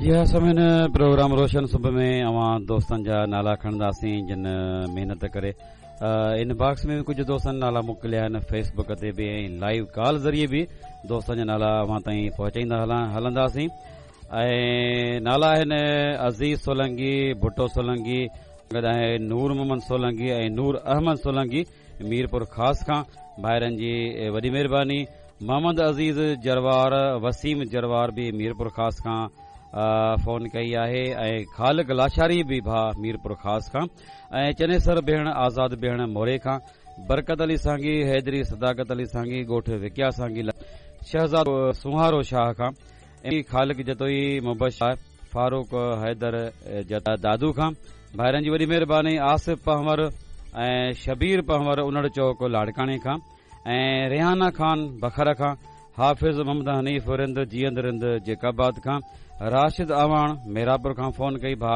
جي ها سامعين پروگرام روشن صبح ۾ اوهان دوستن جا نالا کڻنداسين جن محنت ڪري ان باڪس ۾ به ڪجهه دوستن نالا موڪليا آهن فيس بڪ تي به ۽ لائيو ڪال ذريعي به دوستن جا نالا اوهان تائين پهچائيندا هلنداسين ۽ نالا آهن عزيز سولنگي ڀٽو سولنگي گڏ آهي نور محمد سولنگي ۽ نور احمد سولنگي ميرپور خاص کان ڀائرن جي وڏي مهرباني محمد عزيز جروار وسيم جروار به ميرپور خاص کان فون ڪئي آهي ۽ خالق لاشاري به ڀاء ميرپور خاص کان ۽ چنيسر ڀيڻ آزاد ڀيڻ موري کان برڪت علي سانگي حيدري صداقت علي سانگي ڳوٺ وڪيا سانگي شهزادو سونهارو شاهه کان ۽ خالق جتوئي مبشر فاروق حيدر دادو کان ڀائرن جي وڏي مهرباني آصف پنهور ۽ شبير پنهور انڙ چوڪ لاڙڪاڻي کان ۽ ريحانه خان بکر کان حافظ محمد حنيف رند جيئند رند جيڪب آباد کان راشد اعواڻ ميراپور کان فون ڪئي ڀاء.